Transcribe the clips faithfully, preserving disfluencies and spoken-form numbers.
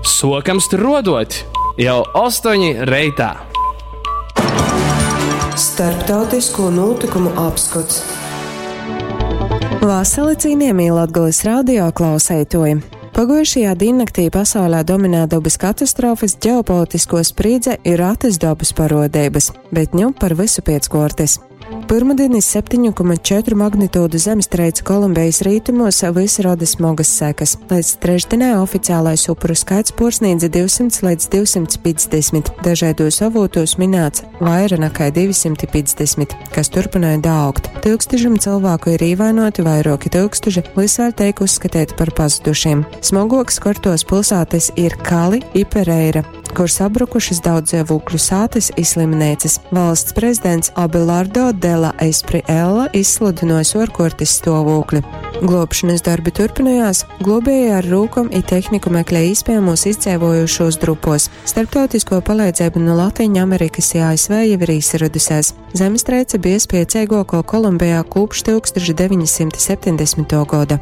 Sokam struodot jau ostoņi reitā. Starptautisko notikumu apskots. Vasali cienījamie Latgales radio klausētoji! Pagujušajā diennaktī pasaulē dominē dabas katastrofas, ģeopolitisko sprīdze ir ratas dabas parodības, bet ņu par visu piec kortes. Pirmdienas septiņu komats četru magnitūdu zemestrīce Kolumbijas rietumos visi rada smagas sekas. Līdz trešdienai oficiālais upuru skaits porsniedza divsimt līdz divsimt piecdesmit. Dažādos avotos minēts vaira nekā divsimt piecdesmit, kas turpināja daaugt. Tūkstošiem cilvēku ir īvainoti, vairoki tūkstoši visvēl teik uzskatīti par pazudušiem. Smagoks kortos pilsētas ir Kali i Pereira, kur sabrukušas daudz dzīvokļu sātes i slimnīcas. Valsts prezidents Abelardo de la Espriella izsludinojis orkortis stāvokli. Glābšanas darbi turpinājās, globēji ar rūkom i tehniku meklē iespējamos izdzīvojušos drupos. Starptautisko palīdzību no Latīņu Amerikas i A S V jau ir izradusies. Zemestrīce bija spēcīgāko Kolumbijā kopš tūkstoš deviņsimt septiņdesmitā gada.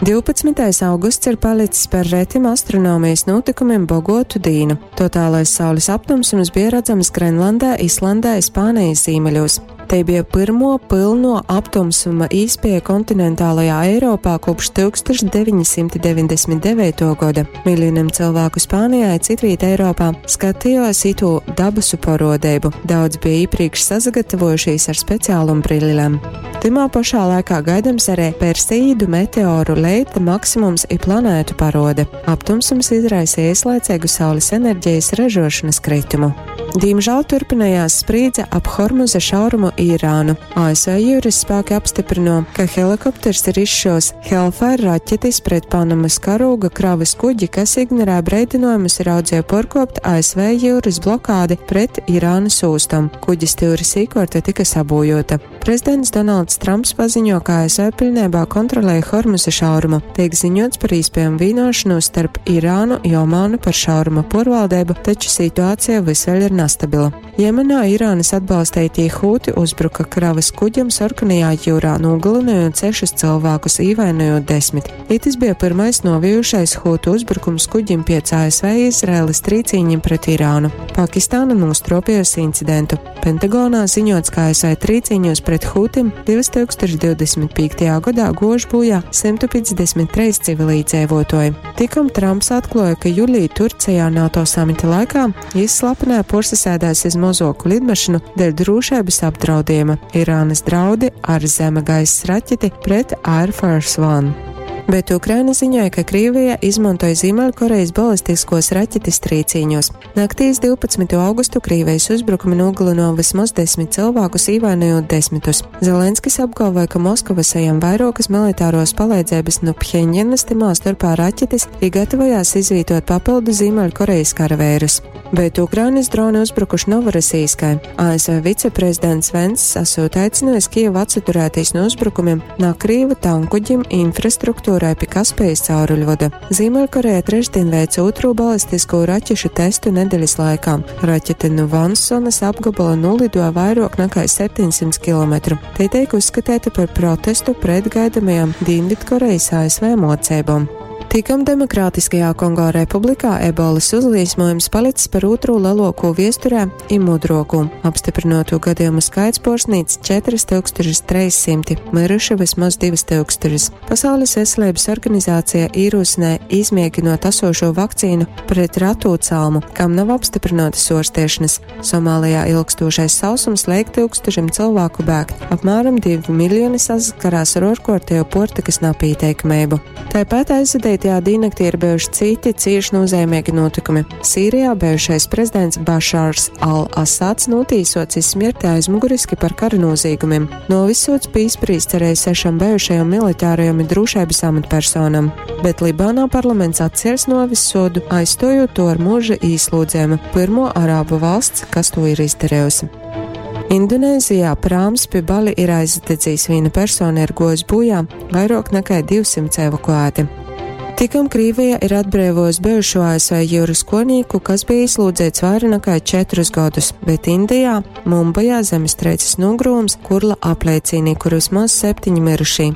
divpadsmitais augusts ir palicis par retim astronomijas notikumiem bogotu dīnu. Totālais saules aptumsums bija redzams Grenlandē, Islandē, Spānijas ziemeļos. Te bija pirmo pilno aptumsuma īspēja kontinentālajā Eiropā kopš tūkstoš deviņsimt deviņdesmit devīto gada. Miljoniem cilvēku Spānijā, citvīt Eiropā skatījās itu dabasu parodību. Daudz bija iepriekš sagatavojušies ar speciālum brillēm. Timā pašā laikā gaidams arī Perseīdu meteoru leita maksimums i planētu parode. Aptumsums izraisīja ieslaicīgu saules enerģijas ražošanas kritumu. Diemžēl turpinājās sprīdze ap Hormuza šaurumu Irānu. A S V jūras spēki apstiprino, ka helikopters ir izšos Hellfire raķetes pret Panamas karūga kravas kuģi, kas ignorē breidinājumus ir audzie porkopt A S V jūras blokādi pret Irānas ūstam. Kuģis stūris īkorte tika sabojota. Prezidents Donalds Trumps paziņo, ka A S V pilnībā kontrolēja Hormuza šaurumu. Tiek ziņots par iespējamu vienošanos starp Irānu i Omānu par šauruma porvaldību, taču situācija vis vēl ir nestabila. Jemenā Irānas atbalstītie hūti uzbruka kravas kuģam Sarkanajā jūrā, nogalinājot sešus cilvēkus, īvainojot desmit. Itis bija pirmais novijušais hūtu uzbrukums kuģim piec A S V Izraēlas trīcīņiem pret Irānu. Pakistāna nostropījusi incidentu. Pentagonā ziņots, ka A S V trīcīņos pret hūtim divtūkstoš divdesmit piektajā gadā gož bojā simtu piecdesmit trīs civilīdzīvotoji. Tikom Trumps atklāja, ka jūlijā Turcijā NATO samita laikā jis slepenē porsasēdās iz mozoku lidmašīnu dēļ drošības apdraudījuma. Irānas draudi ar zeme gaisa raķeti pret Air Force One. Bet Ukraina ziņoja, ka Krievija izmantoja Ziemeļkorejas balistiskos raķetes trīcīņos. Naktīs divpadsmito augustu Krievijas uzbrukumi nogalino vismaz desmit cilvēkus, īvainojot desmitus. Zelenskis apgalvoja, ka Moskava saņem vairākas militāros palīdzības no Pheņģenas, timā starpā raķetes, i gatavojās izvietot papildu Ziemeļkorejas karavērus. Bet Ukrainas droni uzbrukuši Novorosijskai. A S V viceprezidents Venss esot aicinājis Kijevu atsaturēties no uzbrukumiem no Krievu tankuģim infrastruktūrai pie Kaspijas cauruļvada. Ziemeļkoreja trešdien veica otro balistisko raķešu testu nedēļas laikā. Raķete no Vansonas apgabala nolidoja vairāk nekā septiņsimt kilometru. Te tiek uzskatīta par protestu pret gaidamajām Dienvidkorejas A S V mocībām. Tikam Demokrātiskajā Kongo Republikā ebolas uzliesmojums palicis par otro lielāko viesturē i mudroku. Apstiprinoto gadījumu skaits porsnīts četras tūkstošas trīssimti, miruši vismaz divas tūkstošas. Pasaules veselības organizācija ierosināja izmēģinot esošo vakcīnu pret ratu calmu, kam nav apstiprinātas ārstēšanas. Somālijā ilgstošais sausums liek tūkstošiem cilvēku bēgt. Apmēram divi miljoni saskarās ar orkortējo portikas napīteikamību. Tāpat aizvadītajā diennaktī ir bijuši citi cieši nozīmīgi notikumi. Sīrijā bijušais prezidents Bašārs al-Asads notīsots iz smirti aizmuguriski par kara noziegumiem. Novisots pīsprīsts arī sešam bijušajam militārajam un drošības amatpersonam. Bet Libānā parlaments atcēls novis sodu, aizstojot to ar mūža īslūdzējumu, pirmo arābu valsts, kas to ir izdarījusi. Indonēzijā prāms pie Bali ir aizdedzījis, viena persona ir gojis bojā, vairāk nekā divsimt evakuēti. Tikam Krievija ir atbrīvojusi bijušo A S V jūras konīku, kas bija ieslodzīts vairāk nekā četrus gadus, bet Indijā, Mumbajā zemestrīces nogrūms Kurla apliecīnī, kur vismaz septiņi mirušī.